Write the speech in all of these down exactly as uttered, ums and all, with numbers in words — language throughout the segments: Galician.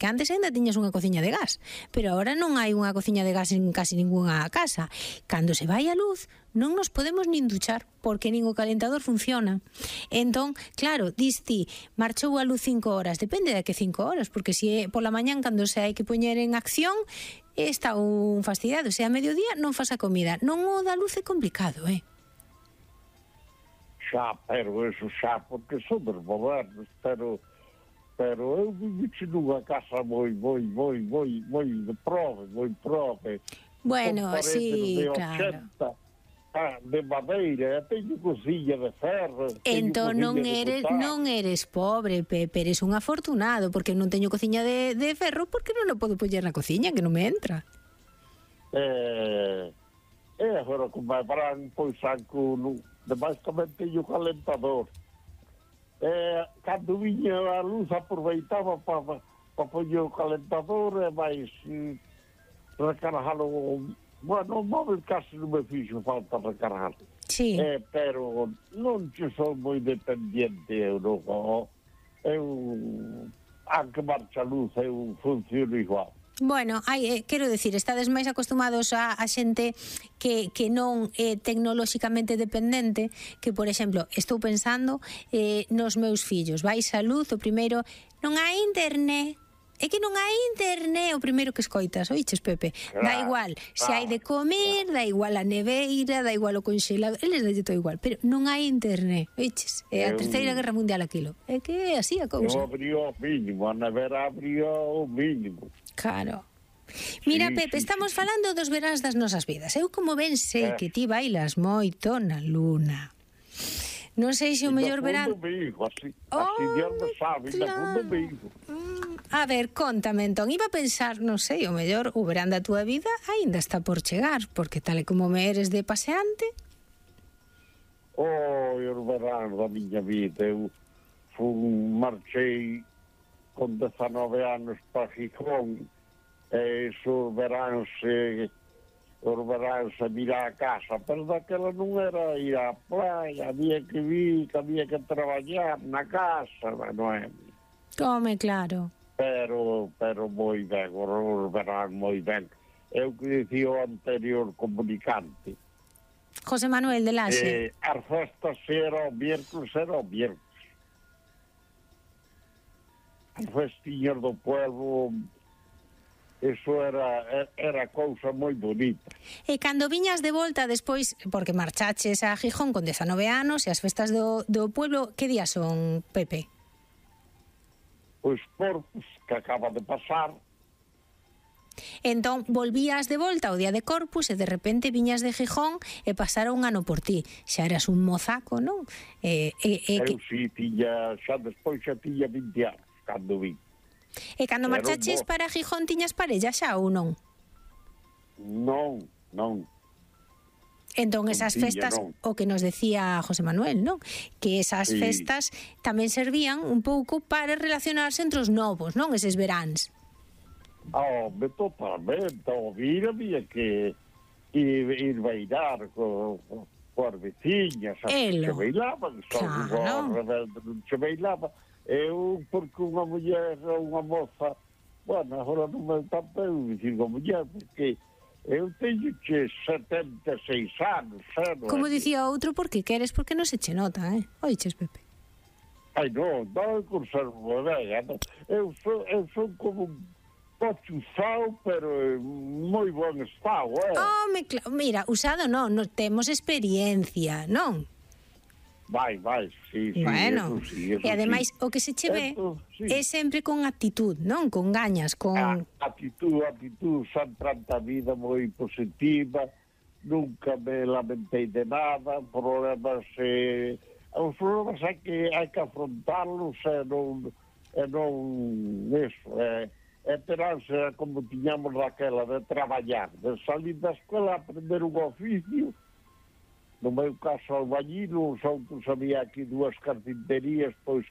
que antes ainda tiñas unha cociña de gas, pero agora non hai unha cociña de gas en casi ningunha casa. Cando se vai a luz, non nos podemos nin duchar, porque nin o calentador funciona. Entón, claro, dis ti, marchou a luz cinco horas, depende de que cinco horas, porque se é pola mañán cando se hai que poñer en acción, está un fastidiado, se a mediodía non faz a comida. Non o da luz é complicado, eh? Xa, pero eso xa, porque son dos modernos, pero pero eu viviche nunha casa moi, moi, moi, moi, moi de prove, moi prove. Bueno, sí, claro. De madeira, teño cociña de ferro. Entón non eres non eres pobre, Pepe, eres un afortunado, porque non teño cociña de, de ferro, porque non o podo poñer na cociña, que non me entra. Eh, eh, agora como me paran, pois saco, demais tamén teño calentador. Eh, cando viña a luz aproveitaba para pa poñer o calentador e máis mm, recargalo. Bueno, o móvil casi non me fixo falta recargar. Sí. Eh, pero non che son moi dependiente eu, non. Eu, aunque marcha a luz, eu funciono igual. Bueno, hai, eh, quero decir, estades máis acostumados a, a xente que, que non é tecnolóxicamente dependente, que, por exemplo, estou pensando eh, nos meus fillos. Vais a luz, o primeiro, non hai internet. É que non hai internet, o primeiro que escoitas, oiches, Pepe? Claro, da igual, se hai de comer, da igual a neveira, da igual o conxelado, eles dalle todo igual, pero non hai internet, oiches? É a terceira guerra mundial aquilo. É que é así a cousa. Eu abriu o mínimo, a nevera abriu o mínimo. Claro. Mira, sí, Pepe, sí, estamos sí, falando dos veráns das nosas vidas. Eu como ben sei eh. que ti bailas moito na luna. Non sei se o mellor verán... Domingo, así, oh, así Dios me sabe, claro. Domingo. A ver, contame entón, iba a pensar, non sei, o mellor o verán da túa vida aínda está por chegar, porque tal e como me eres de paseante... Oh, o verán da miña vida, eu fun, marchei con dezanove anos para Gijón, e esos veráns se... os veráns a mirar a casa, pero daquela non era ir á playa, había que vir, que había que traballar na casa, non é? Come, claro. Pero, pero moi ben, os verán moi ben. Eu que dicía o anterior comunicante. José Manuel de Laxe. Eh, as festas era o miércoles, era o miércoles. As festiñas do pueblo... Eso era, era cousa moi bonita. E cando viñas de volta despois, porque marchaches a Gijón con dezanove anos, e as festas do, do pueblo, que días son, Pepe? Pois Corpus, que acaba de pasar. Entón, volvías de volta o día de Corpus e de repente viñas de Gijón e pasara un ano por ti. Xa eras un mozaco, non? E, e, e, Eu que... si, tiña, xa despois xa tiña vinte anos, cando vim. E cando marchaches para Gijón tiñas parella xa ou non? Non, non. Entón esas non tiña, festas, non. o que nos decía José Manuel, non? Que esas sí. festas tamén servían un pouco para relacionarse entre os novos, non? Eses veráns. Oh, me totalmente, o vir había que ir, ir bailar co, co, coas veciñas, que se bailaban, claro. Só rebelde non se bailaba. Eu, porque unha muller, unha moza, bueno, agora non me tanto eu dicir unha muller, porque eu teño che setenta e seis anos, xa, non? Como dicía outro, porque queres, porque non se che nota, eh? Oiches, Pepe? Ai, non, non é conservo ben, non. Eu son, eu son como un coche usado, pero en moi bon estado, eh? Oh, me, mira, usado non, non temos experiencia, non? Vai, vai, sí, sí, bueno, eso sí, eso e ademais sí. o que se che ve Esto, sí. é sempre con actitud, non? Con gañas, con... A, actitud, actitud, sempre a vida moi positiva, nunca me lamentei de nada, problemas, eh, os problemas hai que, hai que afrontarlos e non, e non eso, eh, e teránse como tiñamos daquela de traballar, de salir da escola a aprender un oficio. No meu caso, albañil, os outros había aquí dúas carpinterías, pois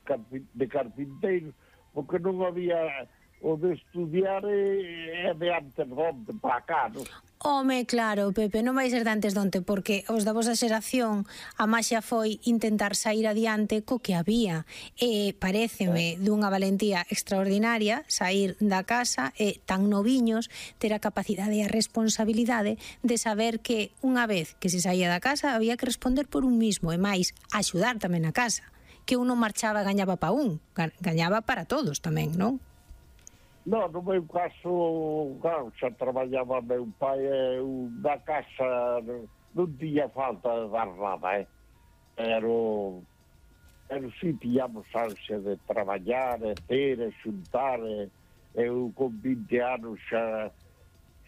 de carpinteiros, porque non había o de estudiar é, é de antes donde para cá, non? Home, claro, Pepe, non vai ser de antes donte, porque os da vosa xeración a maxia foi intentar sair adiante co que había. E paréceme dunha valentía extraordinaria sair da casa e tan noviños ter a capacidade e a responsabilidade de saber que unha vez que se saía da casa había que responder por un mismo e máis axudar tamén a casa, que un non marchaba e gañaba pa un, gañaba para todos tamén, non? Non, no meu caso, claro, xa traballaba meu pai e na casa non tiña falta de dar nada, eh? Pero, pero si tiñamos ansia de traballar, e ter, e xuntar, e eu con vinte anos xa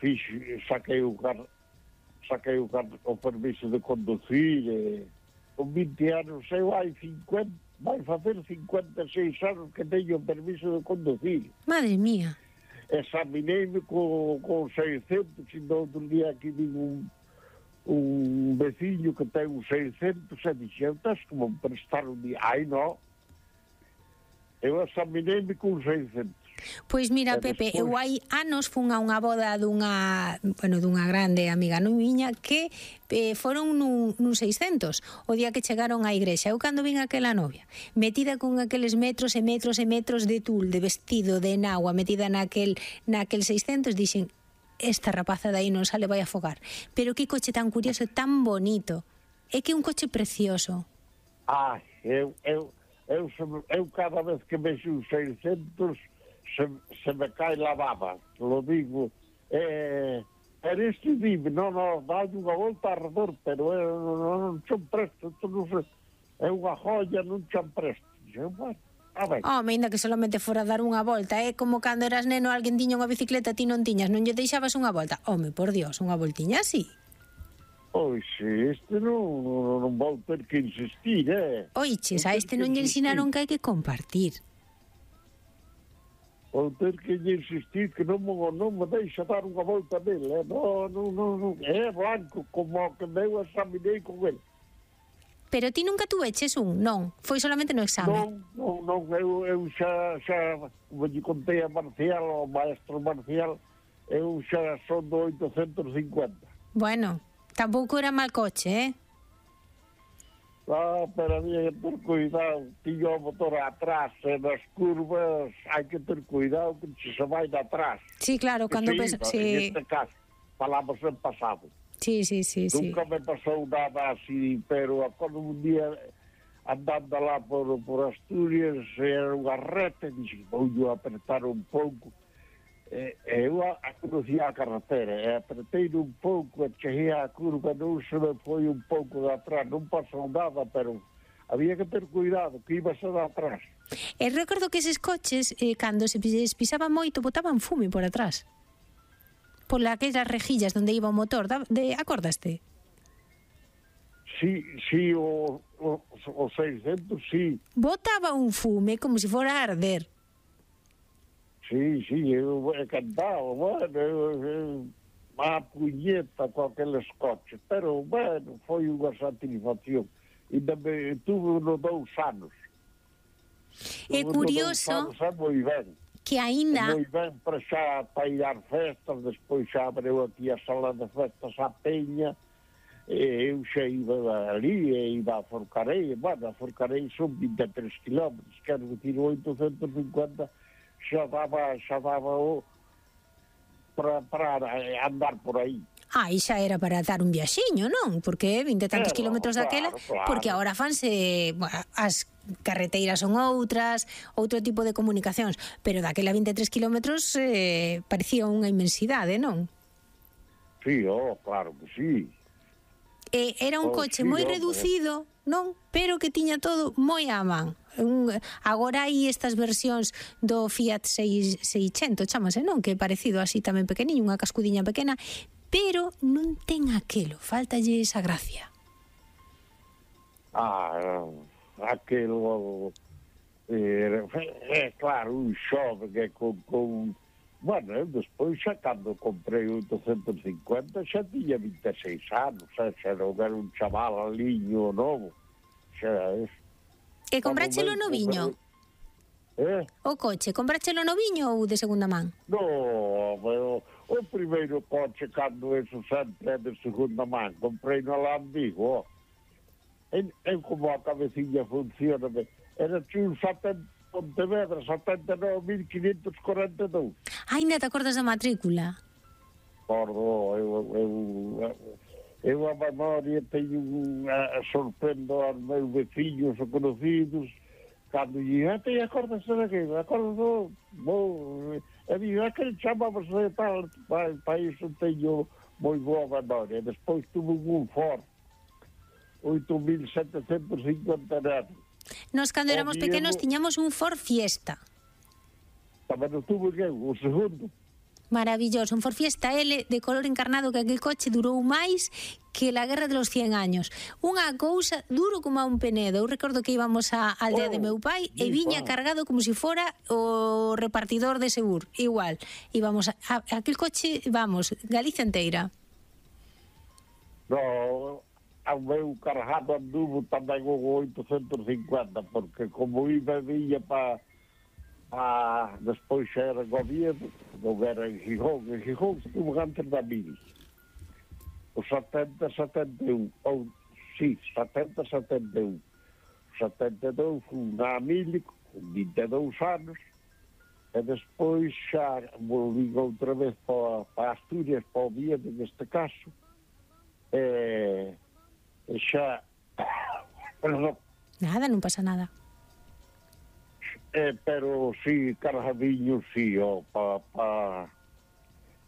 fixe, saquei o car, saquei o, car, o permiso de conducir, e con vinte anos eu hai cincuenta, vai facer cincuenta e seis anos que teño o permiso de conducir. Madre mía. Examineime con, con seiscentos, e no outro día aquí digo un, un veciño que ten un seiscentos e dixeu, estás como prestar un día. Ai, non. Eu examineime con seiscentos. Pois mira, Pepe, eu hai anos fun a unha boda dunha, bueno, dunha grande amiga non miña que eh, foron nun, nun seiscentos o día que chegaron á igrexa. Eu cando vin aquela novia metida con aqueles metros e metros e metros de tul, de vestido, de enagua, metida naquel, naquel seiscentos, dixen, esta rapaza de aí non sale, vai a afogar. Pero que coche tan curioso, tan bonito. É que é un coche precioso. Ai, eu, eu, eu, eu cada vez que vexo un seiscentos Se, se me cae la baba, lo digo. Eh, pero este dime, non, non, dai unha volta alrededor, pero eh, non, non son presto, isto non sei, é unha joya, non son presto. Dixen, bueno, a ver. Oh, ainda que solamente fora dar unha volta, é eh? Como cando eras neno, alguén tiña unha bicicleta, ti non tiñas, non lle deixabas unha volta. Home, por Dios, unha voltiña así. Pois, este non, non, non vou ter que insistir, eh? Oiches, a este non lle ensinaron que hai que compartir. Vou ter que lle insistir que non, non me deixa dar unha volta nele, eh? Non, non, non, non, é blanco como que eu examinei con ele. Pero ti nunca tuveches un, non? Foi solamente no exame? Non, non, non, eu, eu xa, xa, como lle contei a Marcial, o maestro Marcial, eu xa son do oitocentos e cincuenta. Bueno, tampouco era mal coche, eh? Ah, pero había que ter cuidado, tiño o motor atrás, e nas curvas hai que ter cuidado que se vai de atrás. Sí, claro, cando sí, pesa... no, Sí. En este caso, falamos en pasado. Sí, sí, sí, sí. Nunca me pasou nada así, pero cando un día andando lá por, por Asturias, era unha reta, e dixen, vou yo apertar un pouco. E, eu a, a conocía a carretera, e apretei un pouco, e cheguei a curva, non se me foi un pouco de atrás, non pasou nada, pero había que ter cuidado, que iba a ser de atrás. E recordo que eses coches, eh, cando se pisaba moito, botaban fume por atrás. Por aquelas rejillas donde iba o motor, de, acordaste? Sí, sí, o, o, o seiscentos, sí. Botaba un fume como se fora a arder. Sí, sí, eu he cantado, bueno, eu, eu, a puñeta con aqueles coches, pero, bueno, foi unha satisfacción. E me tuve unos dous anos. É curioso anos, é moi ben. Que aínda... É moi ben para xa para ir ás festas, despois xa abreu aquí a sala de festas a Peña, e eu xa iba ali, e iba a Forcarei, bueno, a Forcarei son vinte e tres kilómetros, quero dicir, oitocentos e cincuenta xa daba, xa daba o, para, para andar por aí. Ah, e xa era para dar un viaxiño, non? Porque vinte e tantos Claro, kilómetros claro, daquela, claro. porque agora fanse, bueno, as carreteiras son outras, outro tipo de comunicacións, pero daquela vinte e tres kilómetros eh, parecía unha inmensidade, non? Sí, oh, claro que sí. E era un Oh, coche sí, moi hombre. reducido, non? Pero que tiña todo moi á man. Un, agora hai estas versións do Fiat seiscentos, chamase, non? Que é parecido así tamén pequeniño, unha cascudiña pequena, pero non ten aquelo, faltalle esa gracia. Ah, aquelo... É, é claro, un xove que con, con... Bueno, eu despois xa cando comprei o oitocentos e cincuenta xa tiña vinte e seis anos, xa, xa non era un chaval aliño novo. Xa é... E compráchelo noviño? Eh? O coche, comprachelo noviño ou de segunda man? No, pero o primeiro coche cando eso sempre é de segunda man, comprei no Alambigo, ó. E, e como a cabecilla funciona, era un setenta Pontevedra, setenta e nove mil quinhentos corenta e dous. Ai, ainda te acordas da matrícula? Pordo, eu, eu, eu a memoria teño a, a sorprendo aos meus veciños ou conocidos. Cando lle te acordas daquilo, acordo, vou, e digo, é que chamamos de tal, para, para iso teño moi boa memoria. Despois tuve un Ford, oito mil setecentos e cincuenta netos. Nos, cando éramos Diego, pequenos, tiñamos un Ford Fiesta. Tamén o tuve que o segundo. Maravilloso, un Ford Fiesta L de color encarnado, que aquel coche durou máis que la guerra de los cien años. Unha cousa duro como a un penedo. Eu recordo que íbamos á aldea Oh, de meu pai e mi viña pa. cargado como se si fora o repartidor de Segur. Igual, íbamos a, a, aquel coche, vamos, Galicia inteira. No, ao meu cargado anduvo tamén o oitocentos e cincuenta, porque como iba e viña para pa, despois xa era goberno, non era en Gijón, en Gijón estuvo antes da mil. O setenta, setenta e un, ou, sí, setenta, setenta e un. O setenta e dous fui na mil, con vinte e dous anos, e despois xa volví outra vez para pa Asturias, para o Oviedo, neste caso, e, e xa, perdón, Nada, non pasa nada. Eh, pero sí, cargadillo, sí, oh, pa, pa,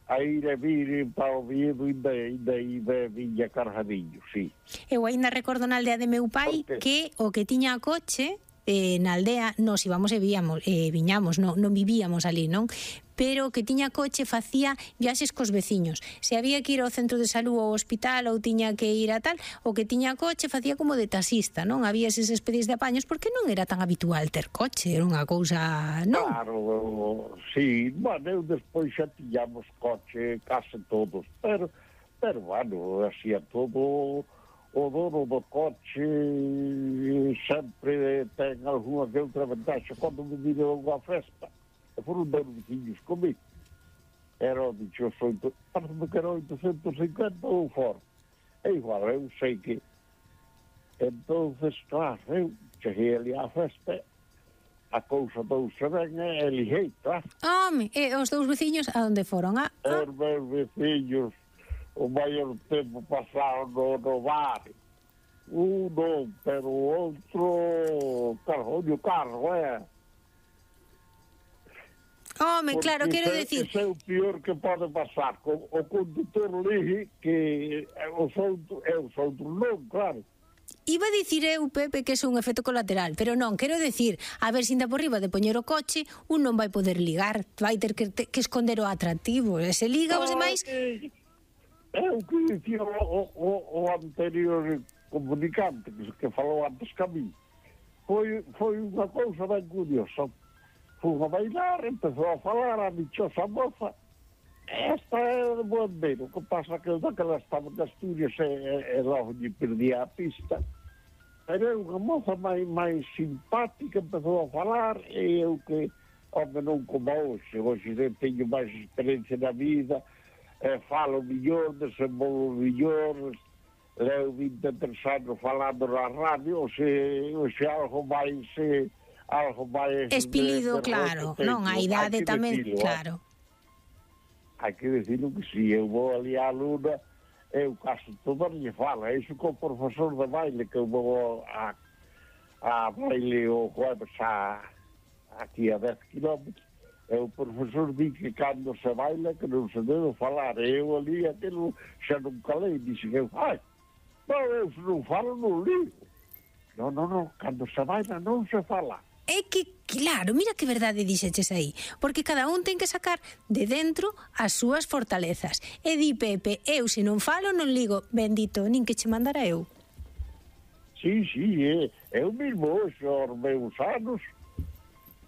a ir e vir para o Oviedo e de viña cargadillo, sí. Eu ainda recordo na aldea de meu pai que o que tiña coche eh, na aldea nos íbamos e víamos, eh, viñamos, non, non vivíamos ali, non? Pero que tiña coche facía viaxes cos veciños. Se había que ir ao centro de salud ou ao hospital ou tiña que ir a tal, o que tiña coche facía como de taxista, non? Había eses especies de apaños porque non era tan habitual ter coche, era unha cousa, non? Claro, sí, bueno, eu despois xa tiñamos coche case todos, pero, pero bueno, así a todo o dono do coche sempre ten algunha que outra ventaxa. Cando me viron unha festa, e foron dous veciños comigo, era o dichoso, parece que era oitocentos e cincuenta ou Ford. É igual, eu sei que entonces, claro, eu cheguei ali á festa, a cousa douse ben e liguei, claro. Home, e os dous veciños a onde foron? A, a... Os meus veciños o maior tempo pasaron no, no bar. Un non, pero o outro carro, o carro, é. Home, claro, quero decir... Ese é o pior que pode pasar. O, o conductor ligue que os outros, é os outros non, claro. Iba a dicir eu, Pepe, que é un efecto colateral, pero non, quero decir, a ver se inda por riba de poñer o coche, un non vai poder ligar, vai ter que, que esconder o atractivo, e se liga os demais... É o que dicía o, o, o anterior comunicante que, que falou antes que a mí. Foi, foi unha cousa ben curiosa. Fui a bailar, empezou a falar a dichosa moza. Esta é de Boandeiro, o que pasa que daquela estaba de Asturias e, e, e logo lle perdía a pista. Pero é unha moza máis, máis simpática, empezou a falar, e eu que, home, non como hoxe, hoxe teño máis experiencia na vida, e falo millón, desenvolvo millón, leo vinte e tres anos falando na radio, se, se algo máis... Se, algo máis... Espilido, de, de claro, non, a idade tamén, decirlo, claro. Hai que decirlo que si eu vou ali á luna, eu caso todo lle falo, é iso co profesor de baile, que eu vou a, a baile o jueves a, aquí a dez kilómetros, e o profesor di que cando se baila que non se debe falar, e eu ali aquilo xa non calei, dixe que eu, ai, non, eu se non falo non ligo. Non, non, non, cando se baila non se fala. É que, claro, mira que verdade dixeches aí, porque cada un ten que sacar de dentro as súas fortalezas. E di Pepe, eu se non falo non ligo, bendito, nin que che mandara eu. Sí, sí, é, eu mesmo hoxe, aos meus anos,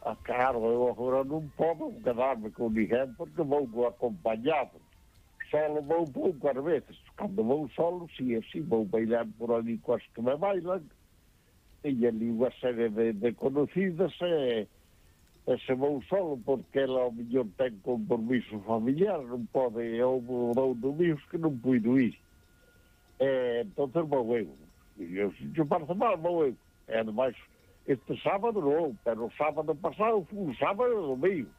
ah, claro, eu agora non podo quedarme con ninguén porque vou acompañado. Solo vou poucas veces. Cando vou solo, si, sí, vou bailar por ali coas que me bailan, e ali unha serie de, de conocidas e, e se vou solo porque ela ao mellor ten compromiso familiar, non pode, houve dous domingos que non puido ir. E, entonces vou eu. E eu, se te parece mal, vou eu. E ademais, este sábado non, pero o sábado pasado foi un sábado e domingo.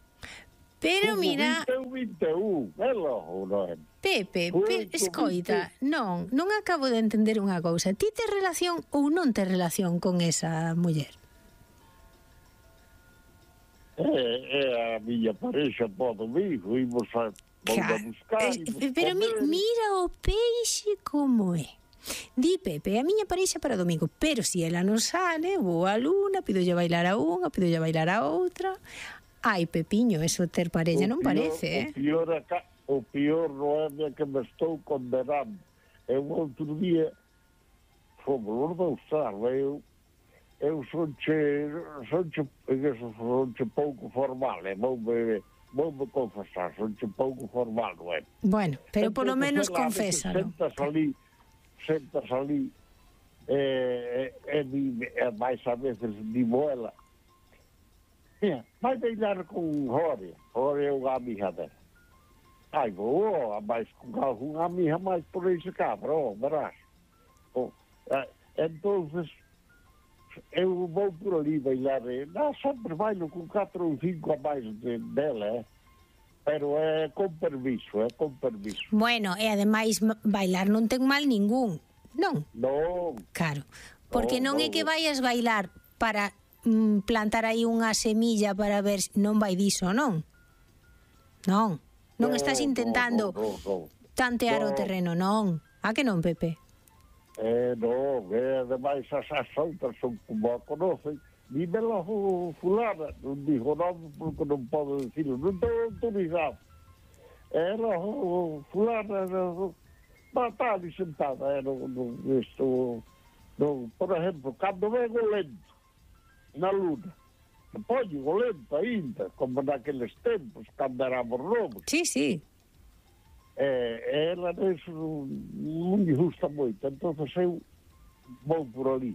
Pero mira... vinte e un, vinte e un, é logo, non é? Pepe, pe, escoita, non, non acabo de entender unha cousa. Ti tes relación ou non tes relación con esa muller? É, é a miña parexa para o domingo, imos a, a buscar, eh, pero mi, mira o peixe como é. Di Pepe, a miña parexa para o domingo, pero se si ela non sale, vou a Luna, pidolle bailar a unha, pidolle bailar a outra. Ai, Pepiño, eso ter parella non parece, eh? O pior, acá, o pior non é que me estou condenando. E un outro día, fomos os dous tarde, eu eu sonche, sonche, sonche pouco formal, e voume, voume confesar, sonche pouco formal, non é? Bueno, pero polo menos confésalo. Sentas ali, sentas ali, e, e, e máis a veces digo ela, vai bailar con Jorge, Jorge é unha amiga dela. Ai, vou, a máis con alguna amiga máis por ese cabrón, verás. Oh, eh, entonces, eu vou por ali bailar, eh, não, sempre bailo con catro ou cinco a máis de, dela, eh? Pero é con permiso, é con permiso. Bueno, e ademais bailar non ten mal ningún, non? Non. Claro, porque non, non é que vayas bailar para mm, plantar aí unha semilla para ver se non vai diso, non? Non, non no, estás intentando no, no, no, no. tantear no. o terreno, non? A que non, Pepe? Eh, non, eh, ademais as, as outras son como a conocen. Dímelo fulana, non digo nome porque non podo dicirlo, non estou autorizado. Era fulana, non está ali sentada, non, non, isto, non, por exemplo, cando vengo lento, na Luna, que poño o lento ainda, como naqueles tempos, cando éramos novos. Sí, sí. Eh, ela nisso non me gusta moito, entón eu vou por ali.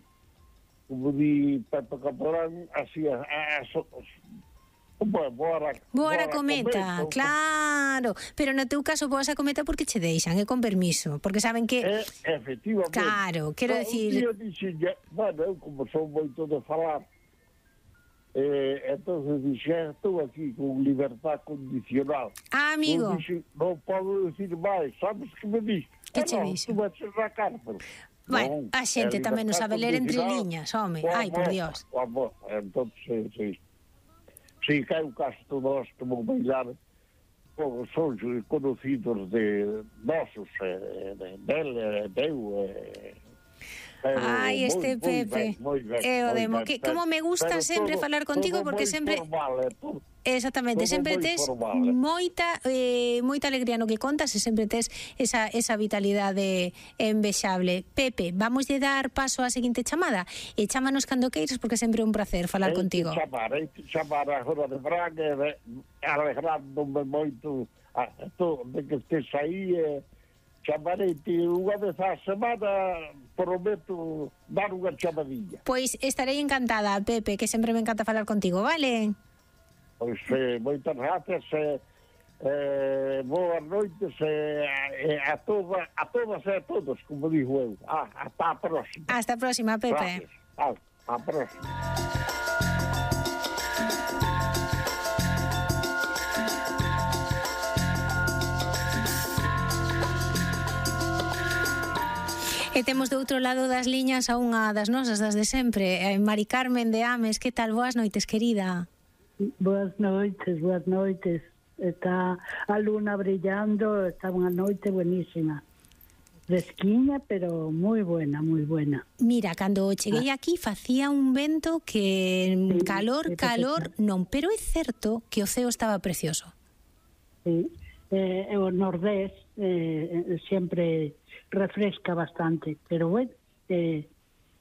Como di Pepe Caporán, así a, a, a, a boa, boa a cometa, cometa, claro. Pero no teu caso boas a cometa porque che deixan, é con permiso, porque saben que... Eh, efectivamente. Claro, quero no, decir... Un día dixen, bueno, eu como son moito de falar, eh, entonces dixen, estou aquí con libertad condicional. Ah, amigo. Non, dixen, non podo decir máis, sabes que me dixen? Que che dixen? Tu vas a cárcel. Bueno, a xente tamén non sabe ler entre liñas, home. Ai, por Dios. Vamos, entón, sí, sí. Sí, que é un caso todos que vou bailar, son conocidos de nosos, eh, dele, deu, eh, ai, este moi, Pepe, moi ben, moi ben, é o demo, que como me gusta pero sempre todo, falar contigo porque sempre formal, eh, todo, exactamente, todo sempre tes formal, eh. moita eh, moita alegría no que contas e sempre tes esa, esa vitalidade envexable. Pepe, vamos de dar paso á seguinte chamada e chámanos cando queiras porque sempre é un placer falar ei contigo. Chamar, ei chamar a hora de Braga alegrándome moito a, to, de que estés aí e eh, chamarei-te unha vez á semana, prometo dar unha chamadilla. Pois estarei encantada, Pepe, que sempre me encanta falar contigo, vale? Pois eh, moitas gracias, eh, eh, boas noites eh, eh, a, toda, a todas e a todos, como digo eu. Ah, hasta a próxima. Hasta a próxima, Pepe. Gracias. Ah, hasta a próxima. E temos do outro lado das liñas a unha das nosas, das de sempre, Mari Carmen de Ames. Que tal? Boas noites, querida. Boas noites, boas noites. Está a luna brillando, está unha noite buenísima. Fresquiña, pero moi buena, moi buena. Mira, cando cheguei aquí facía un vento que sí, calor, calor, non, pero é certo que o ceo estaba precioso. Sí, eh, o nordés eh, sempre refresca bastante, pero bueno, eh,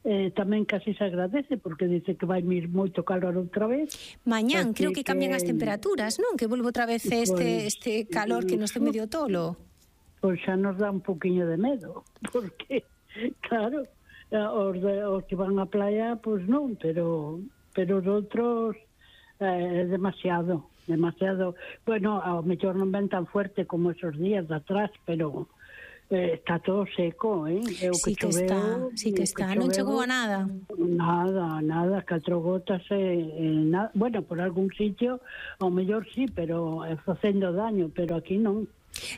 eh, tamén casi se agradece porque dice que vai mir moito calor outra vez. Mañán creo que cambian que... as temperaturas, non? Que volve outra vez este pues, este calor que nos ten medio tolo. Pois xa nos dá un poquinho de medo, porque claro, os, de, os que van á playa, pois non, pero pero os outros é demasiado, demasiado. Bueno, ao mellor non ven tan fuerte como esos días de atrás, pero eh, está todo seco, eh? É o sí que, que choveu, está, sí que está, non chegou a nada. Nada, nada, catro gotas e, e nada. Bueno, por algún sitio, ao mellor sí, pero é facendo daño, pero aquí non.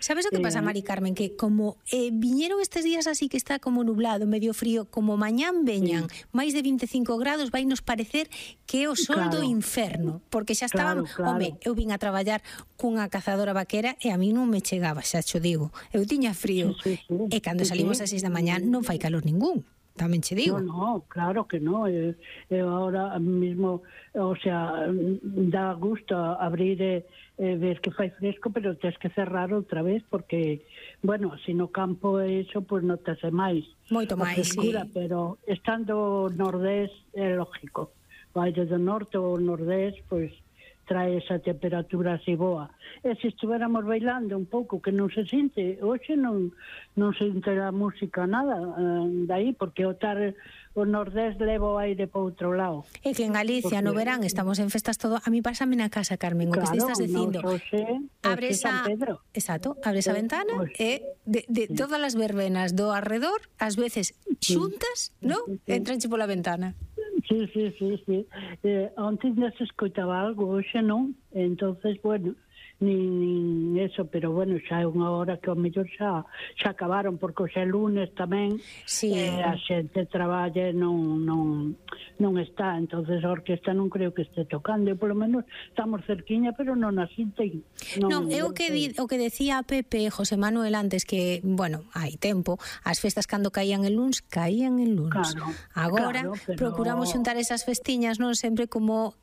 Sabes o que pasa, Mari Carmen? Que como eh, viñeron estes días así que está como nublado, medio frío, como mañán veñan sí. máis de vinte e cinco grados, vai nos parecer que é o sol claro. do inferno, porque xa estaban, claro, claro. home, eu vin a traballar cunha cazadora vaquera e a mí non me chegaba, xa cho digo, eu tiña frío, sí, sí, sí. e cando sí, salimos sí. ás seis da mañá non fai calor ningún. Tamén che digo. No, no, claro que no. Eu, eu ahora mismo, o sea, dá gusto abrir e, e ver que fai fresco, pero tens que cerrar outra vez porque, bueno, se no campo é iso, pois pues notase máis. Moito máis, sí. Pero estando nordés é lógico. O aire do norte ou nordés, pois pues, trae esa temperatura así boa. E se estuéramos bailando un pouco, que non se sinte, hoxe non, non se sinte a música nada eh, dai, porque o tar o nordés leva o aire para outro lado. E que en Galicia porque... no verán estamos en festas todo, a mí pásame na casa, Carmen, o claro, que estás dicindo. No, José, abres San a Pedro. Exacto, abres a ventana pues, e de, de sí. todas as verbenas do arredor, ás veces xuntas, sí. non? Sí. Entranche pola ventana. Sí, sí, sí, sí. Eh, antes ya se escoitaba algo, hoxe non. Entonces, bueno, nin, nin eso, pero bueno, xa é unha hora que ao mellor xa, xa acabaron, porque hoxe é lunes tamén, sí. eh, a xente traballa non, non, non está, entonces a orquesta non creo que este tocando, e polo menos estamos cerquiña, pero non asinte. Non, non é o que, di, o que decía Pepe José Manuel antes, que, bueno, hai tempo, as festas cando caían el luns, caían el luns. Claro, agora claro, pero... procuramos xuntar esas festiñas, non sempre como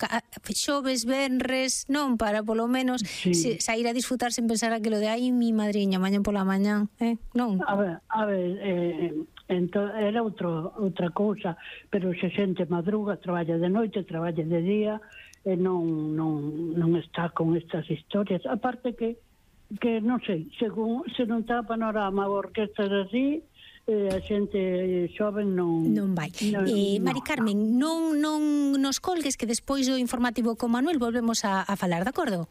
xoves, venres, non, para polo menos sí. se, sair a disfrutar sen pensar aquilo de ai, mi madriña, mañan pola mañan, eh? Non? A ver, a ver, eh, ento, era outro, outra cousa, pero se xente madruga, traballa de noite, traballa de día, e non, non, non está con estas historias. Aparte que, que non sei, según se non está panorama orquestas así, eh, a xente xoven non... Non vai. Non, eh, Mari Carmen, non, non nos colgues, que despois do informativo con Manuel volvemos a, a falar, de acordo?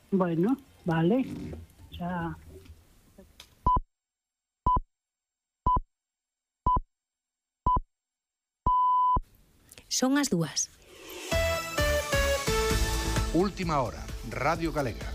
Bueno, vale. Xa... Son as dúas. Última hora, Radio Galega.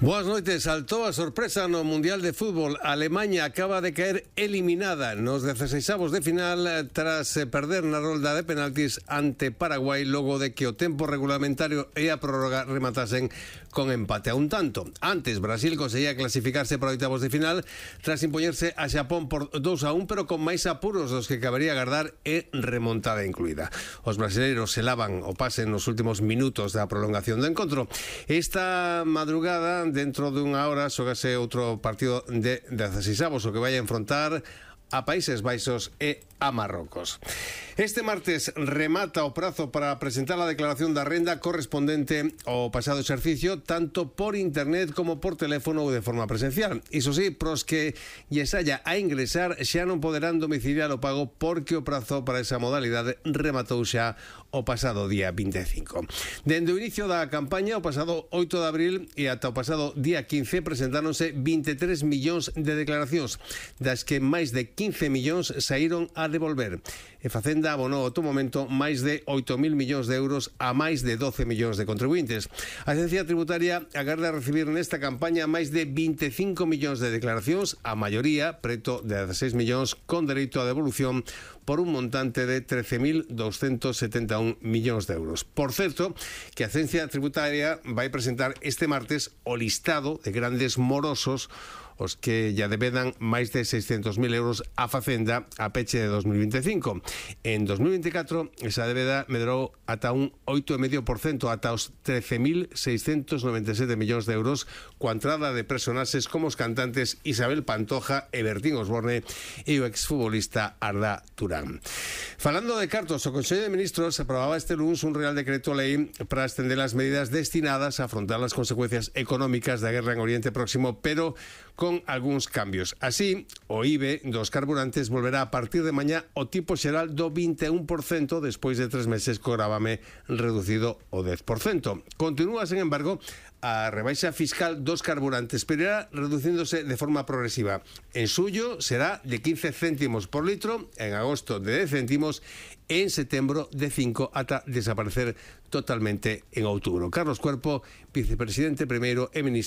Boas noites. Saltou a sorpresa no Mundial de Fútbol. Alemanha acaba de caer eliminada nos dezasexavos de final tras perder na rolda de penaltis ante Paraguai, logo de que o tempo regulamentario e a prórroga rematasen con empate a un tanto. Antes, Brasil conseguía clasificarse para oitavos de final tras impoñerse a Xapón por dous a un, pero con máis apuros dos que cabería agardar e remontada incluída. Os brasileiros selaban o pase nos últimos minutos da prolongación do encontro. Esta madrugada, dentro dunha hora, xogase outro partido de dezasexavos, o que vai a enfrontar a Países Baixos e a Marrocos. Este martes remata o prazo para presentar a declaración da renda correspondente ao pasado exercicio, tanto por internet como por teléfono ou de forma presencial. Iso sí, pros que lles haya a ingresar xa non poderán domiciliar o pago, porque o prazo para esa modalidade rematou xa o pasado día vinte e cinco. Dende o inicio da campaña, o pasado oito de abril e ata o pasado día quince, presentáronse vinte e tres millóns de declaracións, das que máis de quince millóns saíron a devolver. E Facenda abonou ao todo momento máis de oito mil millóns de euros a máis de doce millóns de contribuintes. A Agencia Tributaria agarda recibir nesta campaña máis de vinte e cinco millóns de declaracións, a maioría, preto de dezasseis millóns, con dereito a devolución por un montante de trece mil douscentos setenta e un millóns de euros. Por certo, que a Agencia Tributaria vai presentar este martes o listado de grandes morosos, os que ya debedan máis de seiscentos mil euros a Facenda a peche de dos mil vinte e cinco. En dos mil vinte e catro, esa debeda medrou ata un oito vírgula cinco por cento, ata os trece mil seiscentos noventa e sete millóns de euros, coa entrada de personaxes como os cantantes Isabel Pantoja e Bertín Osborne e o exfutbolista Arda Turán. Falando de cartos, o Consello de Ministros aprobaba este luns un Real Decreto Lei para extender as medidas destinadas a afrontar as consecuencias económicas da guerra en Oriente Próximo, pero con con algúns cambios. Así, o I B E dos carburantes volverá a partir de mañá o tipo xeral do vinte e un por cento despois de tres meses co gravame reducido o dez por cento. Continúa, sen embargo, a rebaixa fiscal dos carburantes, pero irá reducíndose de forma progresiva. En suyo será de quince céntimos por litro, en agosto de dez céntimos, en setembro de cinco ata desaparecer totalmente en outubro. Carlos Cuerpo, vicepresidente primeiro e ministro